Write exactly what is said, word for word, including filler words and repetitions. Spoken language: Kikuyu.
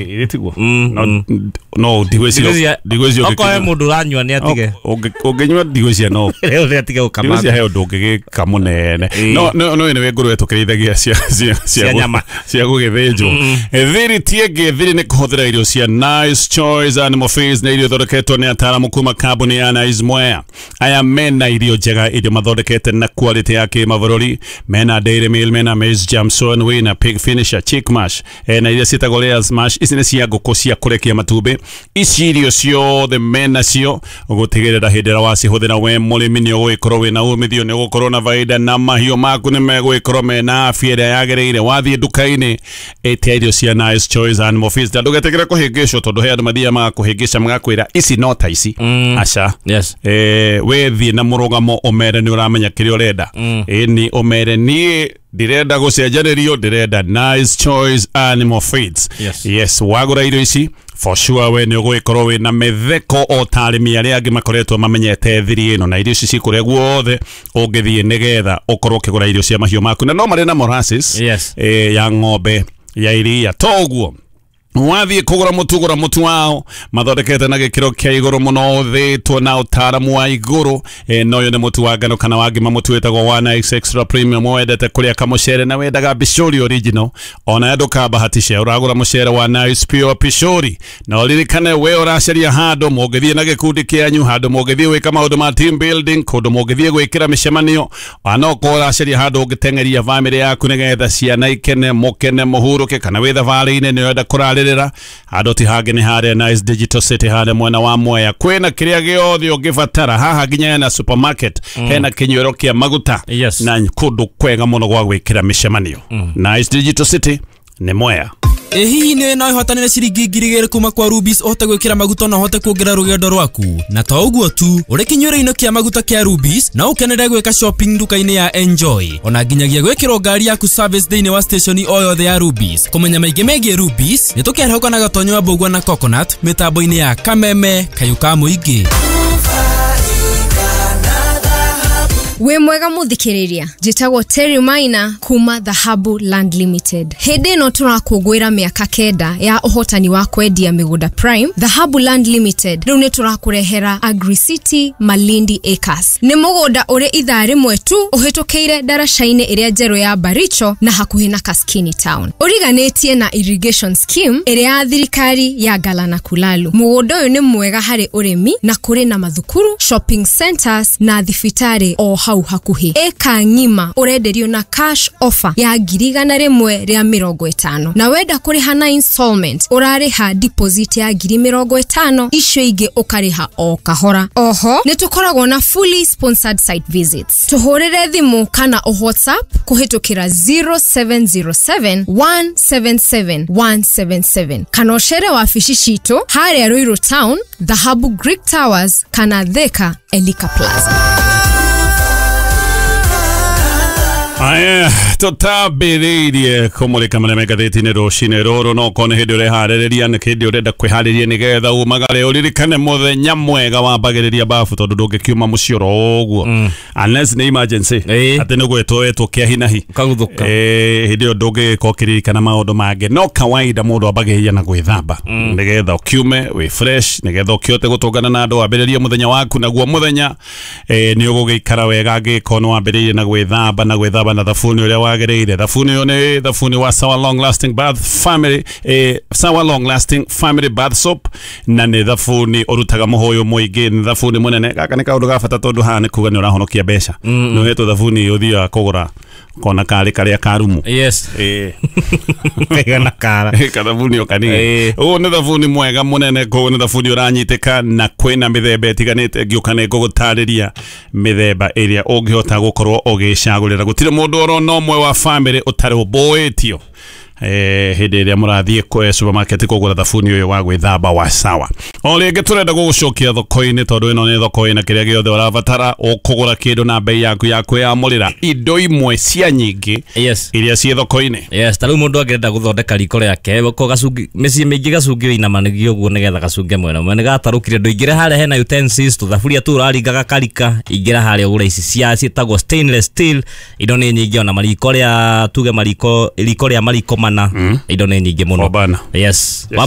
Ĩtiguo no no ndigwĩciria ndigwĩciria okoe mũndũ ũranyua nĩ atige ũngĩnyua ndigwĩciria no rĩu nĩ atige gũkama ndigwĩciria he ũndũ ũngĩgĩka mũnene no no no nĩ ngũrwe tũkĩrĩithagia cia cia cia nyama cia gũgĩthĩnjwo. Thiri ti ĩngĩ, thiri nĩ kũhũthĩra irio cia Nice Choice Animal Feeds na irio ithondeketwo nĩ ataaramu kuma kambuni ya Nice Mwea. Aya mena irio njega, irio mathondekete na quality ya kĩmabũrũri. Mena dairy meal, mena maize jam, soy wina, pig finisher, chick mash, na iria ciĩtagwo layers mash. Ici nĩ cia ngũkũ cia kũrekia matumbĩ. Ici irio ciothe mena cio gũtigĩrĩra hĩndĩ ĩrĩa wacihũthĩra we mũrĩmi nĩ ũgũgĩkorwo wĩna umithio, nĩ ũgũkorwo na baida na mahiũ maku nĩ megũgĩkorwo mena afya ĩrĩa yagĩrĩire. Wathiĩ nduka-inĩ ĩtia irio cia Nice Choice Animal Feeds na ndũgetĩkĩre kũhĩngĩcwo tondũ he andũ mathiaga magakũhĩngĩca magakwĩra ici no ta ici. Aca yes eh we thiĩ na mũrũgamo ũmere nĩ ũramenya kĩrĩa ũrenda. Ĩni ũmere niĩ ndirenda gũcenjanĩrio, ndĩrenda Nice Choice Animal Feeds. Yes, yes wagũra irio ici for sure we nĩ ũgũgĩkorwo wĩna mĩtheko o ta arĩmi arĩa angĩ makoretwo mamenyete thiri ĩno, na irio ici cikũrĩa guothe ũngĩthiĩ nĩgetha ũkorwo ũkĩgũra irio cia mahiũ maku, na no marĩ na molasses yes eh, ya ng'ombe ya iria. Toguo wathiĩ kũgũra mũtu, gũra mũtu wao mathondekete na gĩkĩro kĩa igũrũ mũno, ũthĩtwo na ũtaaramu wa igũrũ. E, no ũyũ nĩ mũtu wa ngano kana wa ngima, mũtu wĩtagwo one X Extra Premium. Wendete kũrĩa kamũcere na wendaga Pishori original, ona ndũkabahatishe ũragũra mũcere wa Nice Pure Pishori. Na ũririkane we ũracaria handũ mũngĩthiĩ na gĩkundi kĩanyu, handũ mũngĩthiĩ gwĩka maũndũ ma team building, kũndũ mũngĩthiĩ gwĩkĩra mĩcemanio, ona okorwo ũracaria handũ ũngĩteng'eria bamĩrĩ yaku nĩgetha ciana ikene, mũkene, mũhurũke, kana wĩ thabarĩ-inĩ nĩ ũrenda kũrarĩrĩra handũ ti hangĩ nĩ harĩa Nice Digital City harĩa mwena wa Mwea. Kwĩna kĩrĩa gĩothe ũngĩbatara haha, nginya hena supermarket, mm. hena kĩnyuĩro kĩa maguta yes. na kũndũ kwega mũno gwa gwĩkĩra mĩcemanio. mm. Nice Digital City nĩ Mwea. Ĩ hihi nĩ no ihotanĩre ciringi ngiri igĩrĩ kuma kwa Rubis ũhote gwĩkĩra maguta na ũhote kuongerera rũgendo rwaku. Na to ũguo tu, ũrĩ kĩnyuĩro-inĩ kĩa maguta kĩa Rubis no ũkenere gwĩka shopping nduka-inĩ ya Enjoy, ona nginyagia gwĩkĩrwo ngari yaku service thĩinĩ wa station o yothe ya Rubis. Kũmenya maingĩ megiĩ Rubis nĩ tũkĩarahũka na Gatonyo wa Mbũgua na Coconut mĩtambo-inĩ ya Kameme Kayũ ka Mũingĩ. Wĩ mwega mũthikĩrĩria, njĩtagwo Terry Maina kuma Dhahabu Land Limited. Hĩndĩ ĩno tũrakũngũĩra mĩaka kenda ya ũhotani wa kwendia mĩgũnda Prime, Dhahabu Land Limited rĩu nĩ tũrakũrehera Agri City Malindi Acres. Nĩ mũgũnda ũrĩ ithaa rĩmwe tu ũhĩtũkĩire ndaraca-inĩ ĩrĩa njerũ ya Baricho na hakuhĩ na Kaskini Town. Ũriganĩtie na irrigation scheme ĩrĩa ya thirikari ya Galana Kulalu. Mũgũnda ũyũ nĩ mwega harĩ ũrĩmi na kũrĩ na mathukuru, shopping centers na thibitarĩ o hau hakuhĩ. Eka ng'ima ũrenderio na cash offer ya ngiri igana rĩmwe rĩa mĩrongo ĩtano, na wenda kũrĩha na installment ũrarĩha deposit ya ngiri mĩrongo ĩtano, icio ingĩ ũkarĩha o kahora. Oho nĩ tũkoragwo na fully sponsored site visits. Tũhũrĩre thimũ kana o WhatsApp kũhĩtũkĩra zero seven zero seven one seven seven one seven seven kana ũcere wabici citũ harĩa Ruiru Town, Dhahabu Greek Towers kana Thika Elika Plaza. Aya, tũtambĩrĩirie kũmũrĩka marĩa me ngathĩti-inĩ rũcinĩ rũrũ, no okorwo nĩ hĩndĩ ũreharĩrĩria, nĩ hĩndĩ ũrenda kwĩharĩria nĩgetha umagare, ũririkane mũthenya mwega wambagĩrĩria babu tondũ ndũngĩkiuma mũciĩ oro ũguo unless nĩ emergency, atĩ nĩ gwĩtwo wetwo kĩa hi na hi ũkaguthũka. Eh, hĩndĩ ĩyo ndũngĩgĩkorwo ũkĩririkana maũndũ mangĩ. No kawaida mũndũ ambagĩrĩria na gwĩthamba nĩgetha ũkiume wĩ fresh, nĩgetha ũkĩhote gũtũngana na andũ, wambĩrĩrie mũthenya waku naguo mũthenya eh, nĩ ũgũgĩikara wega angĩkorwo nĩ wambĩrĩirie na gwĩthamba na gwĩthamba na thabuni ũrĩa wagĩrĩire. Thabuni ũyũ nĩ thabuni wa Sawa Long Lasting Bath Family, eh, Sawa Long Lasting Family Bath Soap, na nĩ thabuni ũrutaga mũhũyũ mũingĩ, nĩ thabuni mũnene. Gaka nĩ kaũndũ ga bata tondũ haha nĩ kuga nĩ ũrahonokia mbeca. Nĩ ũhetwo thabuni ũthiaga kũgũra kona karĩ karĩa karumu. Yes. Eh. Kaigana kara. Kathabuni o kanini. Ũyũ nĩ thabuni mwega mũnene, koguo nĩ thabuni ũranyitĩka na kwĩna mĩthemba ĩtiganĩte. Ngĩũka nĩ ngũgũtarĩria mĩthemba ĩrĩa ũngĩhota gũkorwo ũgĩcagũrĩra. Gũtirĩ mũndũ orona ũmwe wa bamĩrĩ ũtarũmbũĩtio eh hĩndĩ ĩrĩa mũrathiĩ kwe supermarket kũgũra thabuni ũyũ wa gwĩthamba wa Sawa. O rĩngĩ tũrenda gũgũcokia thoko-inĩ tondũ ĩno nĩ thoko ĩna kĩrĩa gĩothe ũrabatara ũkũgũra kĩndũ na bei yaku ya kwĩyamũrĩra, indo imwe cia nyingĩ yes iria ciĩ thoko-inĩ. Yes, ta rĩu mũndũ angĩenda gũthondeka riko rĩake ko gacungi mĩciĩ mĩingĩ gacungi ĩinamanagio ũguo nĩgetha gacunge mwena ũmwe nĩgatarũkire ndũingĩre harĩa hena utensils tũthaburia tũu ũraringa gakarika, ingĩra harĩa ũgũre ici cia ciĩtagwo stainless steel. Indo nĩ nyingĩ, ona mariko rĩa tuge mariko riko rĩa mariko mana, indo nĩ nyingĩ mũno. Four burner. Yes. Yes. Wamba.